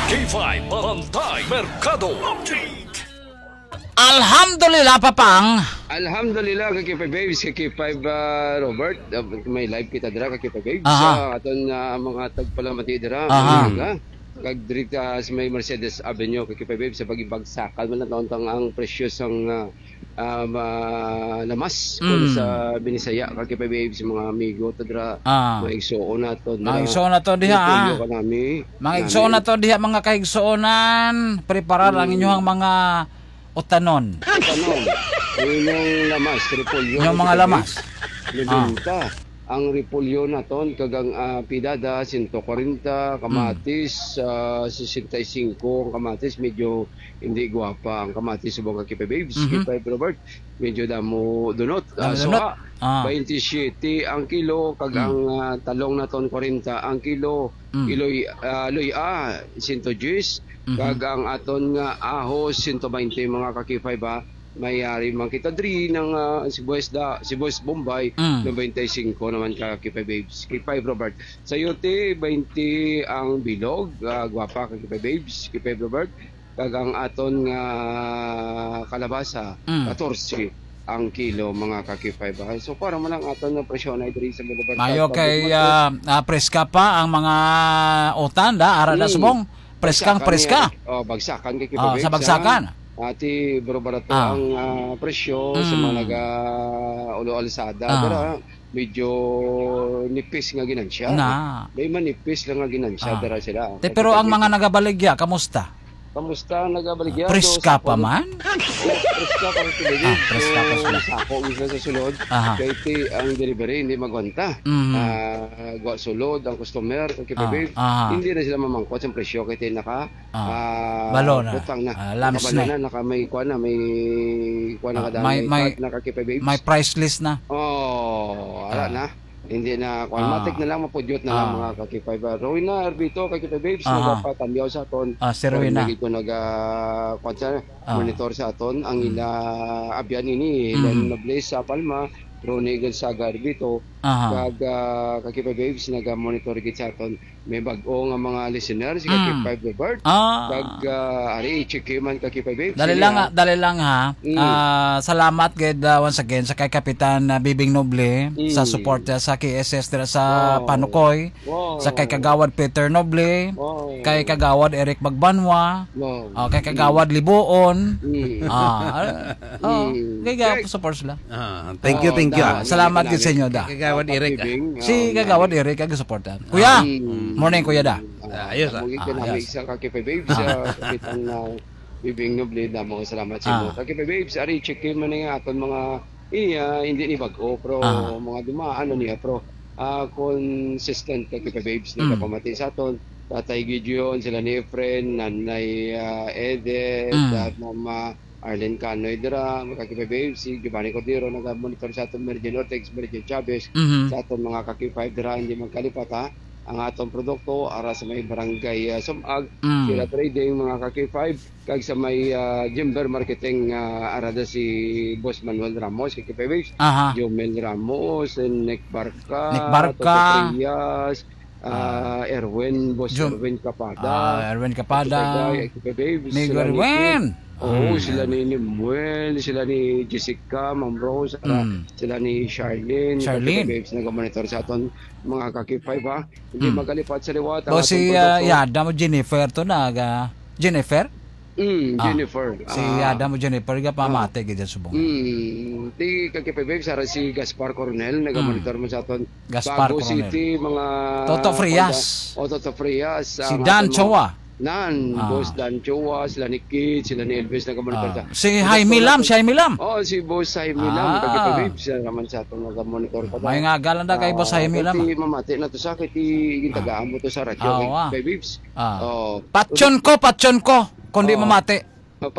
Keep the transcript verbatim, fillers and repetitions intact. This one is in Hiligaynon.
K five Barangay Merkado Update. Alhamdulillah, Papang. Alhamdulillah, ka K five Babes, ka K five, ah, Robert. Ah, may live kita dira, ka K five Babes. Aha. Sa aton, ah, mga tagpalamati dira, Aha. mga, kag diri ka sa may Mercedes Avenue, ka K five Babes, sa pagibagsakal man lang taon ang presyo sang, ah, ah, ma-, lamas, kung Mm. sa Binisaya, ka K five Babes, mga amigo to dira, Ah. mga igsuon nato dira. Mga igsuon nato diha, Repolyo ah. Kanami, Mga igsuon kanami. nato diha, mga kaigsuonan, preparar ang Mm. inyuhang mga utanon. Utanon. Ang inyong lamas, repolyo, Inyong mga repolyo, lamas. Ah. Libinta. Ang repolyo naton, kag ang, ah, pidada, sento kwarenta, Mm. kamatis, ah, sesenta y cinco, ang kamatis, medyo hindi gwapa ang kamatis, subong ka K five Babes, Mhm. K five Robert, medyo damo dunot. Ah, Damo dunot. suha, Ah. twenty-seven ang kilo, kag Mm. ang, ah, talong naton, kwarenta ang kilo, Mm. iloy, ah, luya, sento diyes, Mhm. kag ang aton nga ahos, sento baynte, mga ka K five, ha. May ari man kita diri ng, ah, sibuyas da-, sibuyas Bombay, Mm. nobenta y singko naman ka K five Babes, K five Robert. Sayote, baynte ang bilog, ah, gwapa ka K five Babes, K five Robert. Kag ang aton nga kalabasa, Mm. katorse ang kilo, mga ka K five, ha. So, para man ang aton nga presyo na diri sa Boulevard Mayo South kay, Public Market. ah, ah, preska pa ang mga utan, da, ara na Mm. subong. Preskang Bagsakan preska. niya. Oh, bagsakan kay Ah, Kibabig sa bagsakan. Ati, bro, barato Ah. ang, ah, presyo sa mga Mm. naga-ulo alsada. Ah. Pero, ah, medyo nipis nga ginansya. Na. May manipis lang nga ginansya, Ah. dara sila. Te, Kay pero ang Kibabig. mga nagabaligya, kamusta? Kamusta ang nagabaligya? Ah, preska So, sa pa pag-, man? Oh, preska pa rin sila. Ah, preska pa So, sila. sako mismo sa sulod. Aha. Kay ti, ang delivery, hindi magwanta. Mhm. Ah, gwa sulod ang customer, kay Ah, Kibabig. aha. Hindi na sila mamangkot sa presyo, kay ti naka Ah, ah, balo na. butang na. Ah, lamps Nakabalo na. na, naka may kuwan na, may kuwan na Ah, kada may, may may, card na ka K five Babes. may price list na. Oh, ara Ah. na. Hindi na, kuwan, Ah. matik na lang, mapudyot na lang, Ah. mga ka K five. Ah, Rowena Arbito, ka K five Babes, Aha. nagapatamyaw sa aton. Ah, si Rowena. Kuwan, lagi ko naga, kuwan sa, Ah. monitor sa aton. Ang Mm. ila abyan ini, Mm. Len Nobles sa Palma, Ronnie Gonzaga Arbito, Aha. kag, ah, ka K five Babes, naga-monitor gid sa aton. May bag-o nga mga listeners, si Mm. K five Robert. Ah. Kag, ah, ari, i-check man ka K five Babes. Dali Sige, lang, ah. ah, dali lang, ha. Mm. Ah, salamat gid, ah, once again sa kay Kapitan, ah, Bibing Noble sa Mm. support niya sa K S S dira sa Oo. Panukoy, Oo. sa kay Kagawad Peter Noble, Oo. kay Kagawad Eric Magbanwa, Oo. ah, kay Mm. Kagawad Libuon. Mm. Ah, ah, oh, Mm. kay ga-, Check. support sila. Ah, thank you, Oh, thank you. da, Ah, salamat gid sa inyo, da. Kagawad Eric, ah. Bibing, Si oh, Kagawad Eric, ang suporta. Kuya, Mm. morning, Kuya, da. Ah, ayos, ah. Muli ka Ah, namin ayos. Isa ka Kipe Babes, Ah. ah, Kapitan, ah, Bibing Noble, na mga salamat sa inyo. Ah. Ka Kipe Babes, ari, check in man nga aton mga, iya, hindi ni bag-o, pero Ah. mga dumaan na niya, pero, ah, consistent ka Kipe Babes, Mm. nagapamati sa aton. Tatay Gideon, sila ni Efren, Nanay, ah, Edith, Mm. at Mama Arlene Canoy dira, mga ka-K five Babes, si Giovanni Cordero, naga-monitor sa aton, Mary Jane Ortex, Mary Jane Chavez, Mhm. sa aton mga ka-K five dira, hindi magkalipat, ha. Ang atong produkto, ara sa may barangay, ah, Sumag, Mm. Sira Trading, mga ka-K five, kag sa may, ah, Jimber Marketing, ah, ara da si Boss Manuel Ramos, ka-K five Babes, Aha. Jomel Ramos, and Nick Barca, Nick Barca. Toto Frias, Ah, ah, Erwin, Boss Jun-, Erwin Capada. ah, Erwin Capada. Ito kay Guy, ito kay Babes, Amigo sila ni Erwin. Kit. Oo, Mm. sila ni Nimuel, sila ni Jessica, Ma'am Rose, ah, Mm. sila ni Charlene. Charlene. Ito kay Babes, nagamonitor sa aton mga ka-K five, ha. Hindi Mm. magkalipat sa liwat ang Boss, atong si, ah, produkto. Yada mo, Jennifer, to, naga-, Jennifer? Mm, Ah, Jennifer. si Ah. Yada mo, Jennifer, ga Ah. pamati, gid subong. Mm, ti ka K five Babes, ara si Gaspar Coronel, nagamonitor Mm. mo sa aton. Gaspar Bago Coronel. City, mga Toto Frias. Kanta-, oh, Toto Frias, Si ang Dan aton mga Chua. Nan, Ah. Boss Dan Chua, sila ni Kid, sila ni Elvis, nagamonitor Ah. sa. Si Ang Jaime Lam, Jaime. si Jaime Lam. Oh, si Boss Jaime Lam, Ah. kag Babes, siya naman sa atong nagamonitor pa May daw. nga galan na kay Boss Ah, Jaime Lam, kay ah. mamati na to sa, kay ti-, Ah. gintagaan mo to sa radyo, Ah, kay, ah. kay Babes. Ah. Oh. Patyon ko, patyon ko, kung di Oh. mamati. Papat-